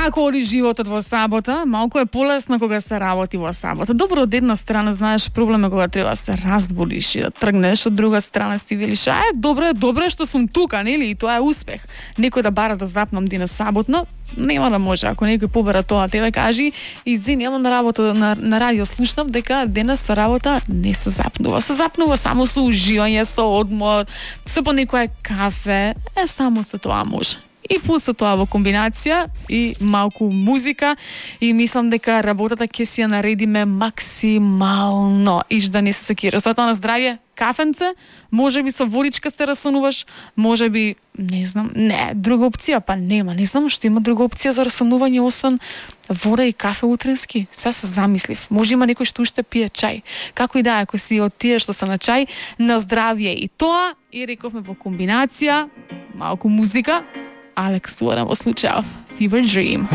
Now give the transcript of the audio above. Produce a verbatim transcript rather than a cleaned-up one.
како оди животот во сабота? Малку е полесно кога се работи во сабота. Добро, од една страна знаеш проблем е кога треба да се разбудиш и да тргнеш, од друга страна си велиш, ај, добро е, добро е што сум тука, нели? И тоа е успех. Некој да бара да запнам денес саботно, нема да може. Ако некој побара тоа, тебе кажи, извини, ама на работа на, на радио слушнав дека денес со работа не се запнува. Се запнува само со уживање, со одмор, со по некое кафе, е само со тоа може. И после тоа во комбинација и малку музика и мислам дека работата ќе си ја наредиме максимално и да не се секира. Затоа на здравје, кафенце, може би со водичка се расонуваш, може би, не знам, не, друга опција, па нема, не знам што има друга опција за расонување освен вода и кафе утренски. Сега се замислив. Може има некој што уште пие чај. Како и да, ако си од тие што се на чај, на здравје и тоа, и рековме во комбинација, малку музика, Alex Warren во случајов Fever Dream.